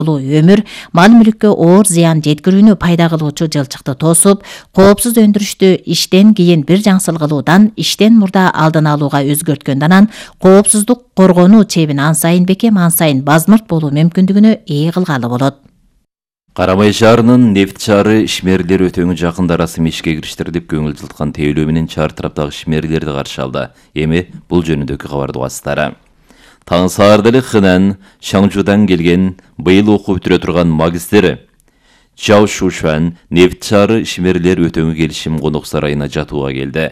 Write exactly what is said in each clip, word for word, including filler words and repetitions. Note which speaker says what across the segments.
Speaker 1: өмүр мал мүлүккө оор зыян жеткирүүнү пайда кылуучу жылчыкты тосуп, коопсуз өндүрүштү иштен кийин бир жаңсыл кылуудан иштен мурда алдын алууга өзгөрткөндөн анан коопсуздук коргонуу чебин ан сайын бекем, ан сайын базмырт болуу мүмкүндүгүнө ээ кылгалы болот.
Speaker 2: Карамай шаарынын Нефт шаары ишмерлер өтөңү жакында расмий ишке кириштир деп көңүл жылткан тейлөө менен чар тараптагы ишмерлерди каршы алды. Эми бул жөнүндөгү кабарды угасыздар. Таң саарда эле Хынан, Шаңжудан келген быйыл окуу бүтүрө турган магистр Чао Шушуан Нефт шаары ишмерлер өтөңү келишим конок сарайына жатууга келди.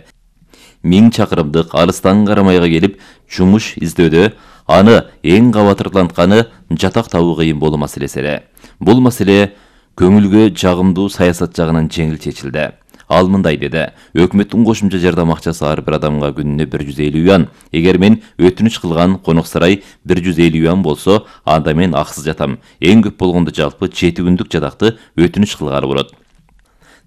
Speaker 2: Миң чакырымдык алыстан Карамайга келип жумуш издөдө аны эң кабатырлантканы жатак табуу кыйын болуу маселеси эле. Бул маселе көңүлгө жагымдуу саясат жагынан жеңил чечилди. Ал мындай деди: өкмөттүн кошумча жардам акчасы ар бир адамга күнүнө бир жүз элүү юан. Эгер мен өтүнүч кылган конок сарай бир жүз элүү юан болсо, анда мен аксыз жатам. Эң көп болгондо жалпы жети күндүк жатакты өтүнүч кылгалы болот.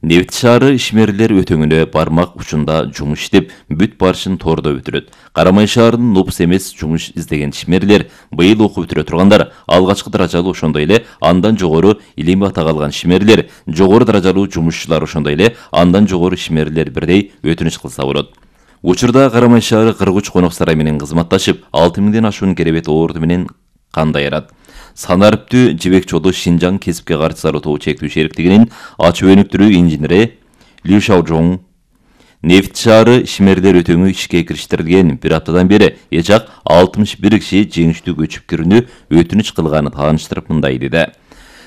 Speaker 2: Нефт шаары ишмерлер өтөңүнө бармак учунда жумуш иштеп, бүт барышын тордо бүтүрөт. Карамай шаарынын нопус эмес жумуш издеген ишмерлер, быйыл окуу бүтүрө тургандар, алгачкы даражалуу ошондой эле андан жогору илимий атак алган ишмерлер, жогору даражалуу жумушчулар ошондой эле андан жогору ишмерлер бирдей өтүнүч кылса болот. Учурда Карамай шаары кырк үч конок сарай менен кызматташып, алты миңден ашуун керебет орду менен кандай ярат. Санариптүү жибек жолу Шинжаң кесипке каршы зароо чектүү шериктигинин ачуу өнүктүрүү инженери Лю Шаожоң Нефт шаары ишмерлер өтөңү ишке кириштирилген бир аптадан бери эжак алтымыш бир киши жеңиштүү көчүп кирүүнү өтүнүч кылганы тааныштырып мындай деди.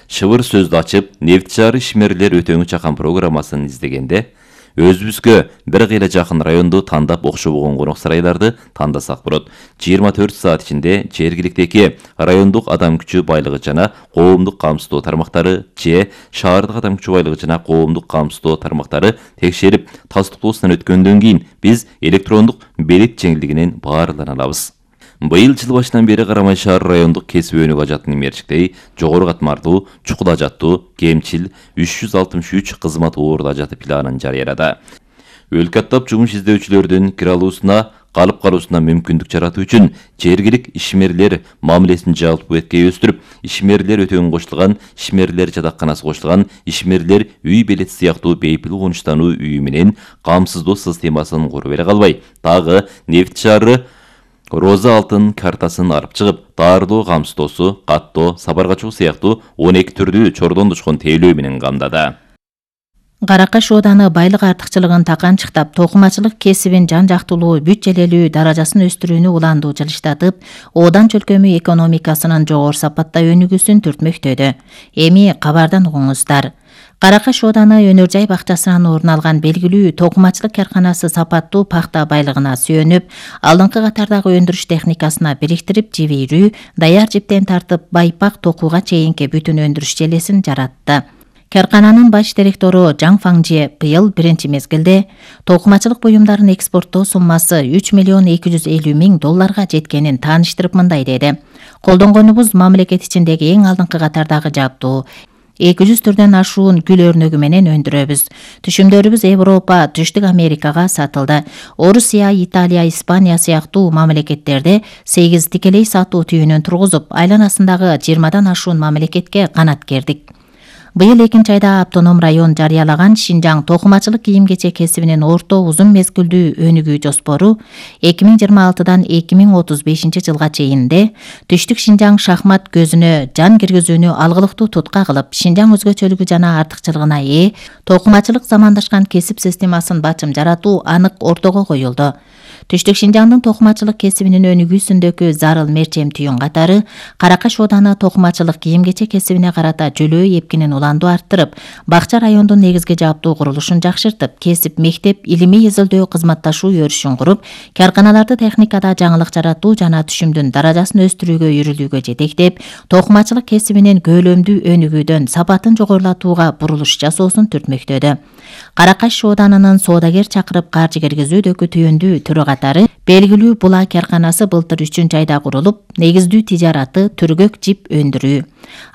Speaker 2: Шыбыр сөздү ачып, Нефт шаары ишмерлер өтөңү чакан программасын издегенде өзүбүзгө бир кыйла жакын районду тандап окшобогон конок сарайларды тандасак болот. жыйырма төрт саат ичинде жергиликтеги райондук адам күчү байлыгы жана коомдук камсыздоо тармактары же шаардык адам күчү байлыгы жана коомдук камсыздоо тармактары текшерип тастыктоосунан өткөндөн кийин биз электрондук белет жеңилдигинен баарлана алабыз. Быйыл жыл башынан бери Карамай шаары райондук кесип өнүгүү ажатынын мерчиктеги жогору катмардуу, чукул ажаттуу, кемчил үч жүз алтымыш үч кызмат орду ажаты планын жарыялады. Өлкө аттап жумуш издөөчүлөрдүн кире алуусуна, калып калуусуна мүмкүндүк жаратуу үчүн жергилик ишмерлер мамилесин жалпы эткей өстүрүп, ишмерлер өтөңү кошулган, ишмерлер жатакканасы кошулган, ишмерлер үй белет сыяктуу бейпил конуштануу үйү менен камсыздоо системасын куруп эле калбай, дагы Нефт шаары Роза алтын картасын арып чыгып, даарылоо камсыздоосу, каттоо, сапарга чыгуу сыяктуу он эки түрдүү чордон тушкан тейлөө менен камдады.
Speaker 1: Каракаш ооданы байлык артыкчылыгын таканчыктап, токумачылык кесибин жан жактуулуу, бүт желелүү даражасын өстүрүүнү улаандуу жылыштатып, оодан чөлкөмү экономикасынын жогору сапатта өнүгүүсүн түртмөктөдү. Эми кабардан угуңуздар. Каракаш ооданы өнөр жай бакчасынан орун алган белгилүү токумачылык карканасы сапаттуу пахта байлыгына сүйөнүп, алдыңкы катардагы өндүрүш техникасына бириктирип, жибирүү, даяр жиптен тартып байпак токууга чейинки бүтүн өндүрүш желесин жаратты. Каркананын баш директору Жаң Фаңже быйыл биринчи мезгилде токумачылык буюмдарын экспорттоо суммасы үч миллион эки жүз элүү миң долларга жеткенин тааныштырып мындай деди: колдонгонубуз мамлекет ичиндеги эң алдыңкы катардагы жабдуу, эки жүз түрдөн ашуун гүл өрнөгү менен өндүрөбүз. Түшүмдөрүбүз Европа, Түштүк Америкага сатылды. Орусия, Италия, Испания сыяктуу мамлекеттерде сегиз тикелей сатуу түйүнүн тургузуп, айланасындагы жыйырмадан ашуун мамлекетке канат кердик. Быйыл экинчи айда автоном район жарыялаган Шинжаң токумачылык кийим-кечек кесибинин орто узун мезгилдүү өнүгүү жоспору эки миң жыйырма алтыдан эки миң отуз бешинчи жылга чейинде Түштүк Шинжаң шахмат көзүнө жан киргизүүнү алгылыктуу тутка кылып, Шинжаң өзгөчөлүгү жана артыкчылыгына ээ токумачылык замандашкан кесип системасын бачым жаратуу анык ортого коюлду. Түштүк Шинжаңдын токумачылык кесибинин өнүгүүсүндөгү зарыл мерчем түйүн катары Каракаш ооданы токумачылык кийим-кечек кесибине карата жөлөө эпкинин улаандуу арттырып, бакча райондун негизги жаптуу курулушун жакшыртып, кесип мектеп, илимий изилдөө кызматташуу өрүшүн куруп, карканаларды техникада жаңылык жаратуу жана түшүмдүн даражасын өстүрүүгө үйрүлүүгө жетектеп, токумачылык кесибинин көөлөмдүү өнүгүүдөн сапатын жогорулатууга бурулуш жасоосун түртмөктөдү. Каракаш ооданынын соодагер чакырып каржы киргизүүдөгү түйүндүү түрү катары белгилүү була карканасы былтыр үчүнчү айда курулуп, негиздүү тижараты түргөк жип өндүрүү.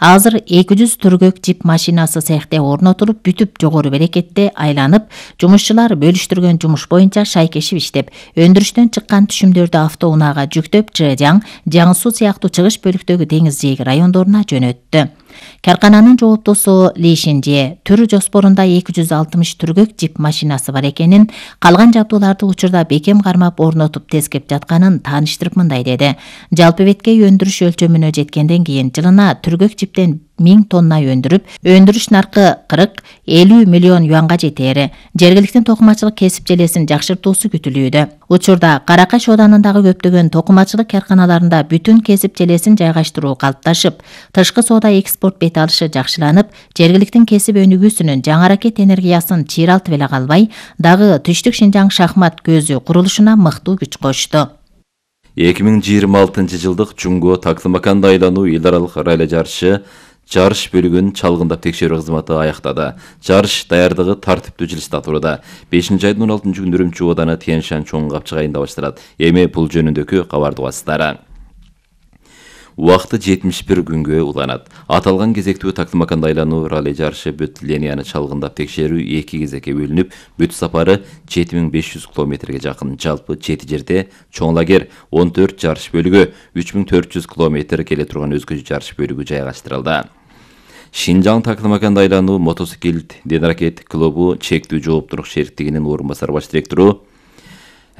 Speaker 1: Азыр эки жүз түргөк жип машинасы цехте орнотулуп, бүтүп жогору берекетте айланып, жумушчулар бөлүштүргөн жумуш боюнча шайкешип иштеп, өндүрүштөн чыккан түшүмдөрдү автоунаага жүктөп, Чжэжяң, Жаңсу сыяктуу чыгыш бөлүктөгү деңиз жээги райондоруна жөнөттү. Каркананын жооптосу Ли Шинже түр жоспорунда эки жүз алтымыш түргөк жип машинасы бар экенин, калган жабдууларды учурда бекем кармап орнотуп тескеп жатканын тааныштырып мындай деди. Жалпы беткей өндүрүш өлчөмүнө жеткенден кийин жылына түргөк жиптен миң тонна өндүрүп, өндүрүш наркы кырк элүү миллион юанга жетери, жергиликтүү токумачылык кесип желесин жакшыртуусу күтүлүүдө. Учурда Каракаш Оданындагы көптөгөн токумачылык карканаларында бүтүн кесип желесин жайгаштыруу калыпташып, тышкы соода экспорт бет алышы жакшыланып, жергиликтин кесип өнүгүүсүнүн жаңы ракет энергиясын чыйралтып эле калбай, дагы Түштүк Шинжаң шахмат көзү курулушуна мыктуу күч кошту.
Speaker 2: эки миң жыйырма алтынчы жылдык Чуңго Таклымаканда айлануу эл аралык ралли жарышы жарыш бөлүгүн чалгындап текшерүү кызматы аяктады. Жарыш даярдыгы тартиптүү жылышта туруда. бешинчи айдын он алтынчы күнү Үрүмчү ооданы Тянь-Шань чоң капчык айында башталат. Эми бул жөнүндөгү кабарды угасыздар. Убакыты жетимиш бир күнгө уланат. Аталган кезектүү Таклымаканда айлануу ралли жарышы бүт линияны чалгындап текшерүү эки кезекке бөлүнүп, бүт сапары жети миң беш жүз километрге жакын. Жалпы жети жерде чоң лагерь, он төрт жарыш бөлүгү, үч миң төрт жүз километр келе турган өзгөчө жарыш бөлүгү жайгаштырылды. Шинжаң Таклымаканда айлануу мотоциклет денракет клубу чектүү жооптуулук шериктигинин орун басар баш директору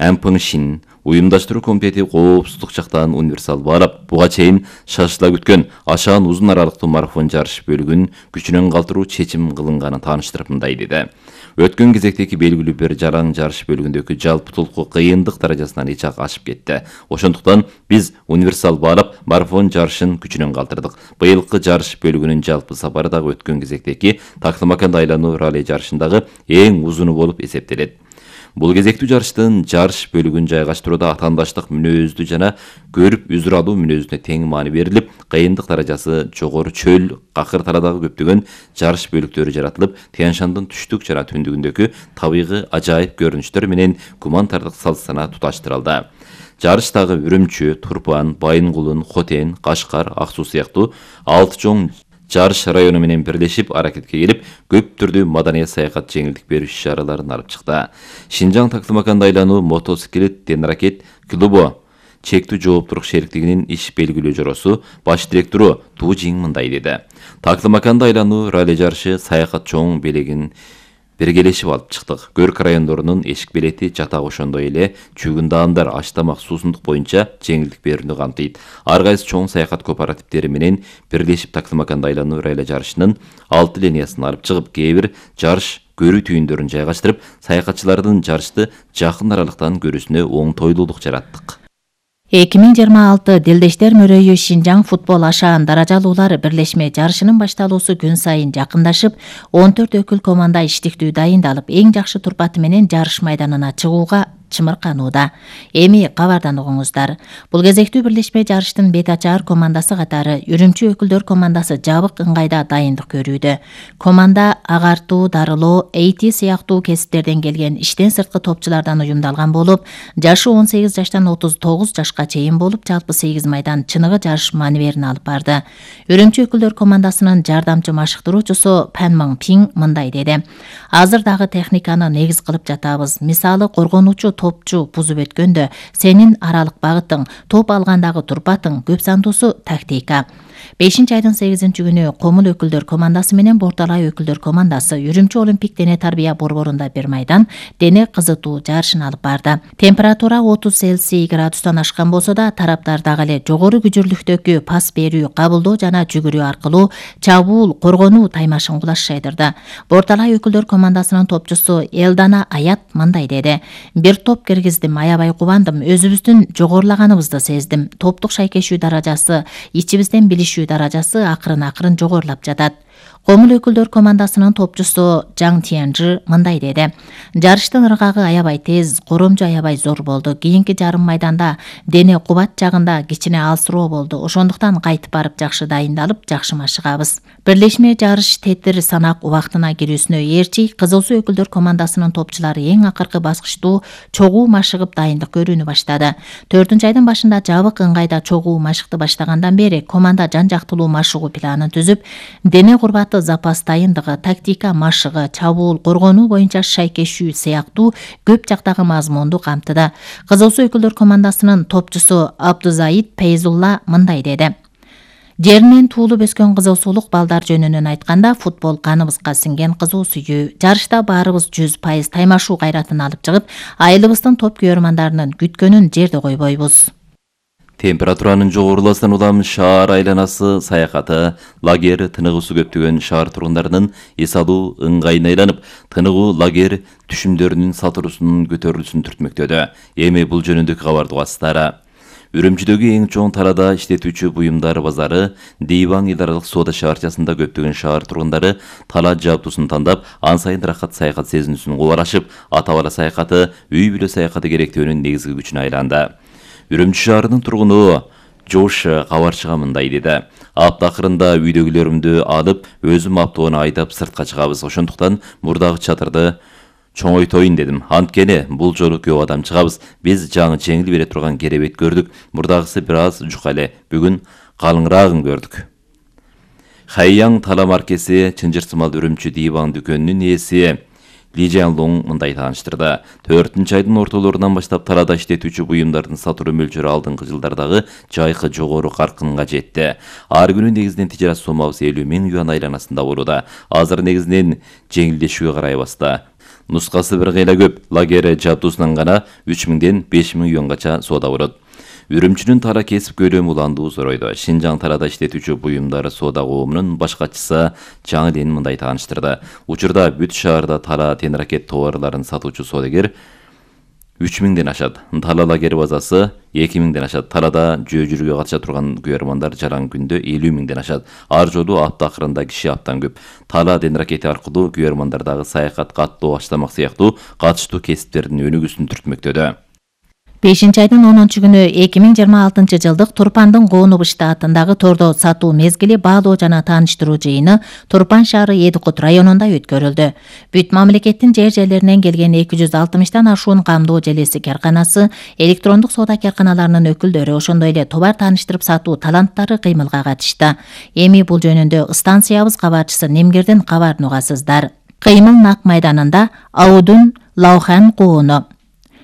Speaker 2: Ампың Шин уюмдаштыруу комитети коопсуздук жактан универсал баалап, буга чейин шашыла күткөн ашаан узун аралыктуу марафон жарыш бөлүгүн күчүнөн калтыруу чечим кылынганын тааныштырып мындай деди. Өткөн кезектеги белгилүү бир жараң жарыш бөлүгүндөгү жалпы толку кыйындык даражасынан эч ак ашып кетти. Ошондуктан биз универсал баалап марафон жарышын күчүнөн калтырдык. Быйылкы жарыш бөлүгүнүн жалпы сапары дагы өткөн кезектеги Таклымаканда айлануу ралли жарышындагы эң узуну болуп эсептелет. Бул кезектүү жарыштын жарыш бөлүгүн жайгаштырууда атаандаштык мүнөздүү жана көрүп үзүр алуу мүнөзүнө тең маани берилип, кыйындык даражасы жогору чөл, какыр тарадагы көптөгөн жарыш бөлүктөрү жаратылып, Тянь-Шандын түштүк жана түндүгүндөгү табигый ажайып көрүнүштөр менен гуманитардык салт-сана туташтырылды. Жарыштагы Үрүмчү, Турпан, Байынгулун, Хотен, Кашкар, Ак Суу сыяктуу алты чоң жарыш району менен бирлешип аракетке келип, көп түрдүү маданий саякат жеңилдик берүү иш-чараларын алып чыкты. Шинжаң Таклымаканда айлануу мотоциклет денракет клубу чектүү жооптуулук шериктигинин иш белгилөө жоросу баш директору Ту Жиң мындай деди. Таклымаканда айлануу ралли жарышы саякат чоң белегин биргелешип алып чыктык. Көрк райондорунун эшик билети жатак ошондой эле чүгүн даандар, аш тамак, суусундук боюнча жеңилдик берүүнү камтыйт. Ар кайсы чоң саякат кооперативдери менен бирлешип Таклымаканда айлануу ралли жарышынын алты линиясын алып чыгып, кээ бир жарыш көрүү түйүндөрүн жайгаштырып, саякатчылардын жарышты жакын аралыктан көрүүсүнө оңтойлуулук жараттык.
Speaker 1: эки миң жыйырма алты Делдештер мөрөйү Шинжаң футбол ашаан даражалуулар бирлешме жарышынын башталуусу күн сайын жакындашып, он төрт өкүл команда иштиктүү дайындалып, эң жакшы турпаты менен жарыш майданына чыгууга чымырканууда. Эми кабардан угуңуздар. Бул кезектүү бирлешме жарыштын бет ачаар командасы катары Үрүмчү өкүлдөр командасы жабык ыңгайда дайындык көрүүдө. Команда агартуу, дарылоо, эйти сыяктуу кесиптерден келген иштен сырткы топчулардан уюмдалган болуп, жашы он сегиз жаштан отуз тогуз жашка чейин болуп, жалпы сегиз майдан чыныгы жарыш маневерин алып барды. Үрүмчү өкүлдөр командасынын жардамчы машыктыруучусу Пан Мың Пиң мындай деди. Азыр дагы техниканы негиз кылып жатабыз. Мисалы, коргонуучу топчу бузуп өткөндө сенин аралык багытың, топ алгандагы турпатың, көп сандуусу тактика. бешинчи айдын сегизинчи күнү Комул өкүлдөр командасы менен Борталай өкүлдөр командасы Үрүмчү Олимпик дене тарбия борборунда бир майдан дене кызытуу жарышын алып барды. Температура отуз Цельсий градустан ашкан болсо да, тараптар дагы эле жогору күчүрлүктөгү пас берүү, кабылдоо жана жүгүрүү аркылуу чабуул, коргонуу таймашын кулаш шайдырды. Борталай өкүлдөр командасынын топчусу Элдана Аят мындай деди. Бир топ киргиздим, аябай кубандым, өзүбүздүн жогорулаганыбызды сездим. Топтук шайкешүү даражасы, ичибизден билишүү даражасы акырын-акырын жогорулап жатат. Комул өкүлдөр командасынын топчусу Жаң Тиянжы мындай деди. Жарыштын ыргагы аябай тез, коромжу аябай зор болду. Кийинки жарым майданда дене кубат жагында кичине алсыроо болду. Ошондуктан кайтып барып жакшы дайындалып, жакшы машыгабыз. Бирлешме жарыш тетир санак убактына кирүүсүнө ээрчи Кызыл Суу өкүлдөр командасынын топчулары эң акыркы баскычтуу чогуу машыгып дайындык көрүүнү баштады. төртүнчү айдын башында жабык ыңгайда чогуу машыкты баштагандан бери команда жан жактылуу машыгуу планын түзүп, дене курбаты запас дайындыгы, тактика машыгы, чабуул, коргонуу боюнча шайкешүү сыяктуу көп жактагы мазмунду камтыды. Кызыл Суу өкүлдөр командасынын топчусу Абдузаид Пейзулла мындай деди. Жеринен туулуп өскөн кызуусулук балдар жөнүнөн айтканда, футбол каныбызга сиңген кызуу сүйүү. Жарышта баарыбыз жүз пайыз таймашуу кайратын алып чыгып, айылыбыздын топ күйөрмандарынын күткөнүн жерде койбойбуз.
Speaker 2: Температуранын жогоруласынан улам шаар айланасы саякаты, лагер тыныгуусу көптөгөн шаар тургундарынын эс алуу ыңгайына айланып, тыныгуу лагер түшүмдөрүнүн сатырусунун көтөрүлүшүн түртмөктөдө. Эми бул жөнүндөгү кабарды угасыздар. Үрүмчүдөгү эң чоң талаада иштетүүчү буюмдар базары Дейваң эл аралык соода шаарчасында көптөгөн шаар тургундары тала жабдуусун тандап, ан сайын рахат саякат сезинүүсүн кубарашып, ата-бала саякаты, үй-бүлө саякаты керектөөнүн негизги күчүнө айланды. Үрүмчү шаарынын тургуну Жош кабарчыга мындай деди. Апта акырында үйдөгүлөрүмдү алып, өзүм автоуну айдап сыртка чыгабыз. Ошондуктан мурдагы чатырды чоңойтоюн дедим. Анткени бул жолу көп адам чыгабыз. Биз жаңы жеңил бере турган керебет көрдүк. Мурдагысы бир аз жука эле. Бүгүн калыңыраагын көрдүк. Хайяң тала маркеси чынжырсымал Үрүмчү Дейваң дүкөнүнүн ээси Ли Жан-луң мындай тааныштырды. төртүнчү айдын ортолорунан баштап талаада иштетүүчү буюмдардын сатуу мөлчөрү алдыңкы жылдардагы жайкы жогору каркынга жетти. Ар күнү негизинен тижарат соммабыз элүү миң юан айланасында болууда. Азыр негизинен жеңилдешүүгө карай басты. Нускасы бир кыйла көп, лагер жабдуусунан гана үч миңден беш миң юангача соода болот. Үрүмчүнүн тала кесип көлөмү уландуу зоройду. Шинжаң талаада иштетүүчү буюмдар соода коомунун баш катчысы Жаңы Ден мындай тааныштырды. Учурда бүт шаарда тала тенракет товарларын сатуучу соодагер үч миңден ашат. Тала лагер базасы эки миңден ашат. Талаада жөө жүрүүгө катыша турган күйөрмандар жаран күндө элүү миңден ашат. Ар жолу апта акырында киши абдан көп. Тала тенракети аркылуу күйөрмандардагы саякат, каттоо, аштамак сыяктуу катыштуу кесиптердин өнүгүүсүн түртмөктөдө.
Speaker 1: бешинчи айдын онунчу күнү эки миң жыйырма алтынчы жылдык Турпандын Коонуп штатындагы тордо сатуу мезгили баалоо жана тааныштыруу жыйыны Турпан шаары Эдикут районунда өткөрүлдү. Бүт мамлекеттин жер жерлеринен келген эки жүз алтымыштан ашуун камдоо желеси карканасы, электрондук соода карканаларынын өкүлдөрү, ошондой эле товар тааныштырып сатуу таланттары кыймылга катышты. Эми бул жөнүндө станциябыз кабарчысы Немгирдин кабарын угасыздар. Кыймыл нак майданында Аудун Лаухан Коону,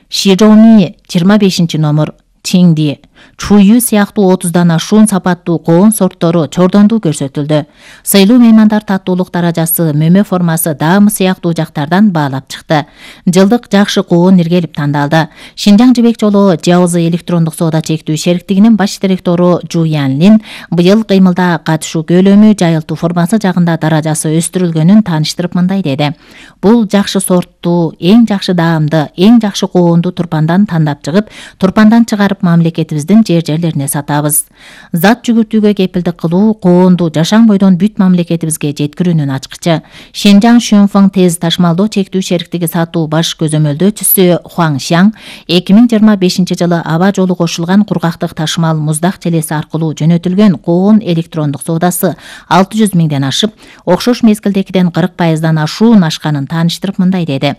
Speaker 1: Широми жыйырма бешинчи номер, Тиңди, Чую сыяктуу отуздан ашуун сапаттуу коон сорттору чордондуу көрсөтүлдү. Сыйлуу меймандар таттуулук даражасы, мөмө формасы, даамы сыяктуу жактардан баалап чыкты. Жылдык жакшы коон иргелип тандалды. Шинжаң жибек жолу Жаузы электрондук соода чектүү шериктигинин баш директору Жу Янлин быйыл кыймылда катышуу көлөмү, жайылтуу формасы жагында даражасы өстүрүлгөнүн тааныштырып мындай деди. Бул жакшы сорттуу, эң жакшы даамды, эң жакшы коонду Турпандан тандап чыгып, Турпандан чыгарып мамлекетибиздин жер жерлерине сатабыз. Зат жүгүртүүгө кепилдик кылуу коонду жашаң бойдон бүт мамлекетибизге жеткирүүнүн ачкычы. Шинжаң Шөнфоң тез ташмалдоо чектүү шериктиги сатуу баш көзөмөлдөөчүсү Хуаң Шаң эки миң жыйырма бешинчи жылы аба жолу кошулган кургактык ташмал муздак желеси аркылуу жөнөтүлгөн коон электрондук соодасы алты жүз миңден ашып, окшош мезгилдегиден кырк пайыздан ашуун ашканын тааныштырып мындай деди.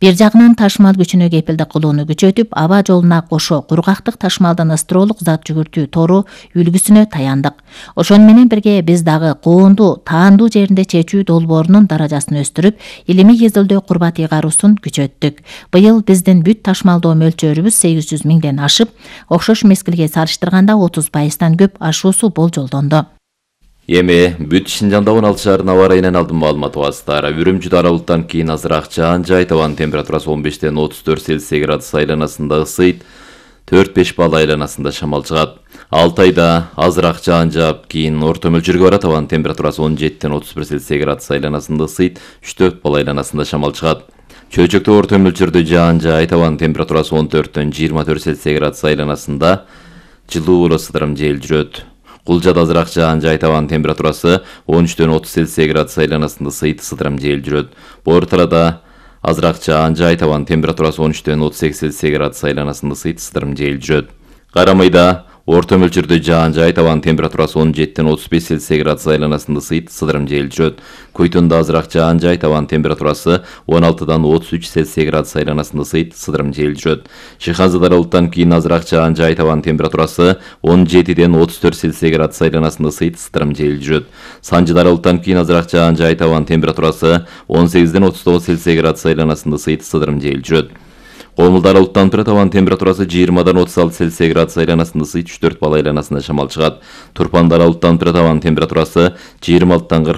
Speaker 1: Бир жагынан ташмал күчүнө кепилдик кылууну күчөтүп, аба жолуна кошо кургактык ташмалдын ыстролук зат жүгүртүү тору үлгүсүнө таяндык. Ошону менен бирге биз дагы коонду таандуу жеринде чечүү долбоорунун даражасын өстүрүп, илимий изилдөө курбат ыйгаруусун күчөттүк. Быйыл биздин бүт ташмалдоо мөлчөрүбүз сегиз жүз миңден ашып, окшош мезгилге салыштырганда отуз пайыздан көп ашуусу болжолдонду.
Speaker 2: Эми бүт Шинжаңда он алты шаарынын аба ырайынан алдын маалымат угасыздар. Үрүмчүдө аралыктан кийин азыраак жаан жай, табан температурасы он бештен отуз төрт Цельсий градус айланасында ысыйт, төрт беш балл айланасында шамал чыгат. Алтайда азыраак жаан жаап, кийин орто мөлчөргө барат, табан температурасы он жетиден отуз бир Цельсий градус айланасында ысыйт, үч төрт балл айланасында шамал чыгат. Чөйчөктө орто мөлчөрдө жаан жай, табан температурасы он төрттөн жыйырма төрт Цельсий градус айланасында жылуу боло сыдырым жел жүрөт. Кулжада азыраак жаан жай, табан температурасы он үчтөн отуз Цельсий градус айланасында ысыйт, сыдырым жел жүрөт. Борталада азыраак жаан жай, табан температурасы он үчтөн отуз сегиз Цельсий градус айланасында ысыйт, сыдырым жел жүрөт. Карамайда орто мөлчөрдө жаан жай, табан температурасы он жетиден отуз беш Цельсий градус айланасында ысыйт, сыдырым жел жүрөт. Көйтөндө азыраак жаан жай, табан температурасы он алтыдан отуз үч Цельсий градус айланасында ысыйт, сыдырым жел жүрөт. Шыханзада аралыктан кийин азыраак жаан жай, табан температурасы он жетиден отуз төрт Цельсий градус айланасында ысыйт, сыдырым жел жүрөт. Санжыда аралыктан кийин азыраак жаан жай, табан температурасы он сегизден отуз тогуз Цельсий градус айланасында ысыйт, сыдырым жел жүрөт. Комулда аралыктанып турат, абанын температурасы жыйырмадан отуз алты Цельсий градус айланасында ысыйт, үч төрт балл айланасында шамал чыгат. Турпанда аралыктанып турат, абанын температурасы жыйырма алтыдан кырк